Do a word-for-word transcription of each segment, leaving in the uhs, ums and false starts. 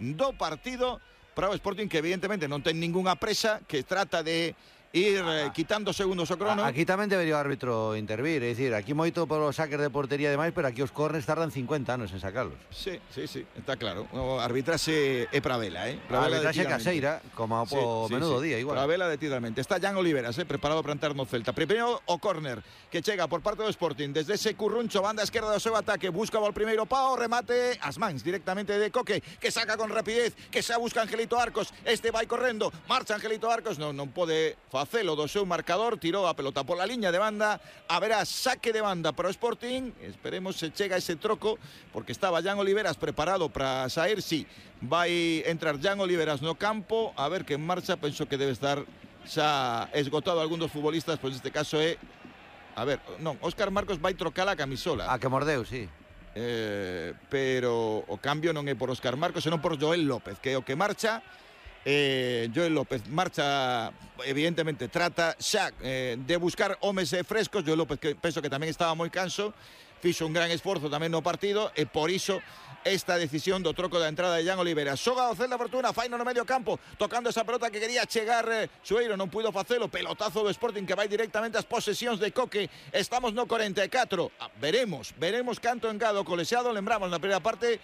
do partido para o Sporting, que evidentemente non ten ningunha presa, que trata de ir eh, quitando segundos o crono. Aquí tamén debería o árbitro intervir, é dicir, aquí moito polo saques de portería e demais, pero aquí os corners tardan cincuenta anos en sacarlos. Sí, sí, sí, está claro. O arbitraxe é para vela, eh? A arbitraxe caseira, como sí, po sí, menudo sí. día, igual. Para vela detidamente. Está Jan Oliveras, eh, preparado para entrar no Celta. Primeiro o córner que chega por parte do Sporting desde ese curruncho, banda esquerda do seu ataque, busca o primeiro pao, remate as mans directamente de Coque, que saca con rapidez, que xa busca Angelito Arcos, este vai correndo, marcha Angelito Arcos, non, non pode facelo do seu marcador, tirou a pelota pola liña de banda, haberá saque de banda para o Sporting, esperemos se chega ese troco, porque estaba Jan Oliveras preparado para sair, sí, vai entrar Jan Oliveras no campo, a ver que en marcha, penso que debe estar xa esgotado algún dos futbolistas, pois neste caso é, a ver, non, Óscar Marcos vai trocar a camisola. A que mordeu, sí. Eh, pero o cambio non é por Óscar Marcos, senón por Joel López, que é o que marcha. Eh, Joel López marcha, evidentemente trata xa eh, de buscar homes eh, frescos. Joel López, que penso que tamén estaba moi canso, fixo un gran esforzo tamén no partido, e por iso esta decisión do troco da entrada de Jan Oliveira. Xoga o Celta Fortuna, faino no medio campo, tocando esa pelota que quería chegar eh, Sueiro, non puido facelo, pelotazo do Sporting que vai directamente ás posesións de Coque. Estamos no corenta e catro, ah, veremos, veremos canto engado colexiado. Lembramos na primeira parte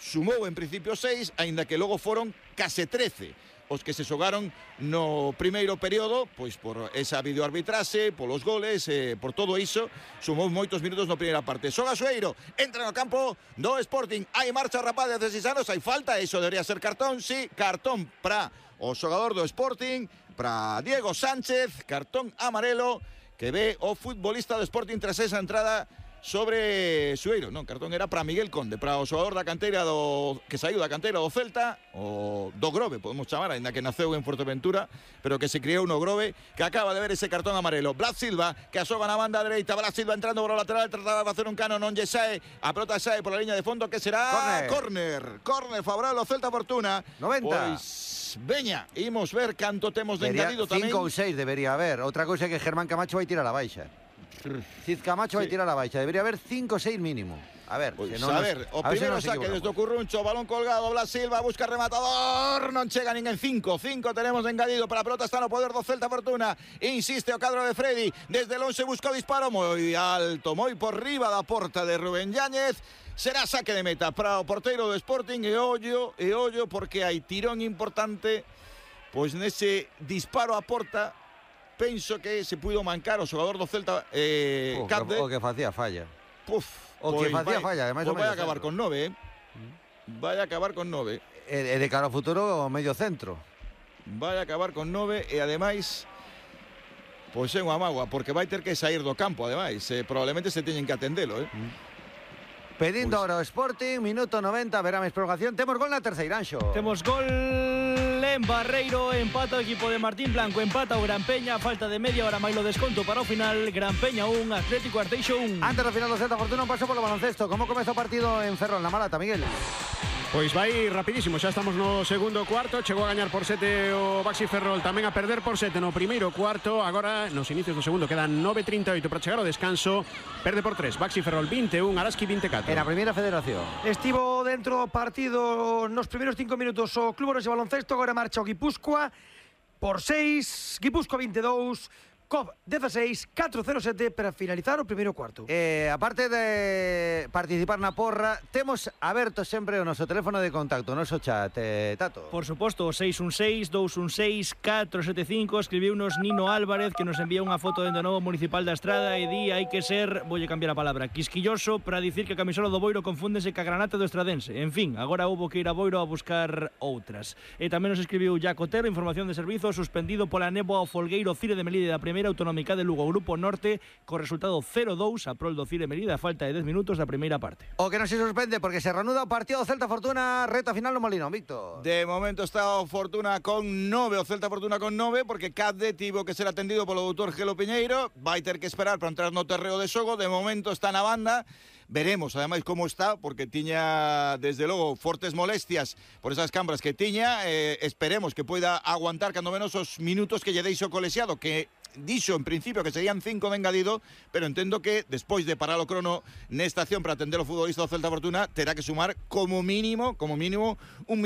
sumou en principio seis, aínda que logo foron case trece os que se xogaron no primeiro período, pois por esa videoarbitraxe, polos goles, eh, por todo iso, sumou moitos minutos na primeira parte. Xoga Sueiro, entra no campo do Sporting, hai marcha rapaz de dezaseis anos, hai falta, iso debería ser cartón, sí, cartón para o xogador do Sporting, para Diego Sánchez, cartón amarelo, que ve o futbolista do Sporting tras esa entrada sobre Sueiro. Non, cartón era para Miguel Conde, para o xogador da canteira do que saiu da canteira do Celta, o do Grove, podemos chamar, ainda que naceu en Fuerteventura, pero que se criou no Grove, que acaba de ver ese cartón amarelo. Blas Silva, que asoga na banda dereita, Blas Silva entrando por o lateral, trataba de facer un cano, non lle sae, a pelota sae por a liña de fondo, que será córner, córner favorable ao Celta Fortuna. noventa. Pois veña, imos ver canto temos de engadido tamén. cinco ou seis debería haber. Outra cousa é que Germán Camacho vai tirar a baixa. Cid Camacho vai tirar a baixa, debería haber cinco ou seis mínimo. A ver, pues, se non a nos, ver, o a ver primeiro se saque desde o curruncho, balón colgado, Blas Silva busca rematador, non chega ninguén. Cinco, cinco tenemos engadido, para a pelota está no poder do Celta Fortuna, insiste o cadro de Freddy, desde el once buscou disparo moi alto, moi por riba da porta de Rubén Yáñez. Será saque de meta para o porteiro do Sporting, e ollo, e ollo, porque hai tirón importante, pois nese disparo a porta. Penso que se puido mancar o xogador do Celta, eh, oh, Capde. O que facía falla. Puf, o que facía falla, ademais pues vai a acabar con nove, eh. Vai a acabar con nove. E de cara ao futuro, o medio centro. Vai a acabar con nove e ademais, pois é unha mágoa, porque vai ter que sair do campo, ademais. Eh, probablemente se teñen que atendelo, eh. Mm. Pedindo pues... ahora o Sporting, minuto noventa, verá máis prolongación. Temos gol na terceira, Anxo. Temos gol en Barreiro, empata o equipo de Martín Blanco, empata o Gran Peña, falta de media hora máis lo desconto para o final. Gran Peña un, Atlético Arteixo un. Antes do final do Celta Fortuna, un paso polo baloncesto. Como comeza o partido en Ferrol, na Malata, Miguel? Pois vai rapidísimo, xa estamos no segundo cuarto. Chegou a gañar por sete o Baxi Ferrol, tamén a perder por sete no primeiro cuarto. Agora, nos inicios do segundo, quedan nove trinta e oito para chegar ao descanso. Perde por tres, Baxi Ferrol vinte e un, Araski vinte e catro. En a primeira federación estivo dentro do partido nos primeiros cinco minutos o Club Orense Baloncesto. Agora marcha o Guipúzcoa por seis, Guipúzcoa vinte e dous, C O B dieciséis, catro cero sete para finalizar o primeiro cuarto. Eh, aparte de participar na porra, temos aberto sempre o noso teléfono de contacto, o noso chat, eh, Tato. Por suposto, seis un seis, dous un seis, catro sete cinco. Escribiunos Nino Álvarez, que nos envía unha foto dentro do novo Municipal da Estrada e di hai que ser, voulle cambiar a palabra, quisquilloso para dicir que a camisola do Boiro confúndese ca granate do estradense. En fin, agora houbo que ir a Boiro a buscar outras. E tamén nos escribiu Jacotero, información de servizo, suspendido pola néboa o Folgueiro Cire de Melide da primeira autonómica de Lugo, Grupo Norte, co resultado cero dous a prol do Cire Melide, a falta de dez minutos da primeira parte. O que non se suspende porque se reanuda o partido Celta Fortuna, reta final no Molinón, Víctor. De momento está o Fortuna con nove, o Celta Fortuna con nove, porque Cadde tivo que ser atendido polo doutor Gelo Piñeiro, vai ter que esperar para entrar no terreo de xogo. De momento está na banda. Veremos, ademais, como está, porque tiña, desde logo, fortes molestias por esas cambras que tiña. Eh, esperemos que poida aguantar cando menos os minutos que lle deixo o colexiado, que dixo en principio que serían cinco de engadido, pero entendo que despois de parar o crono nesta acción para atender o futbolista do Celta Fortuna, terá que sumar como mínimo, como mínimo, un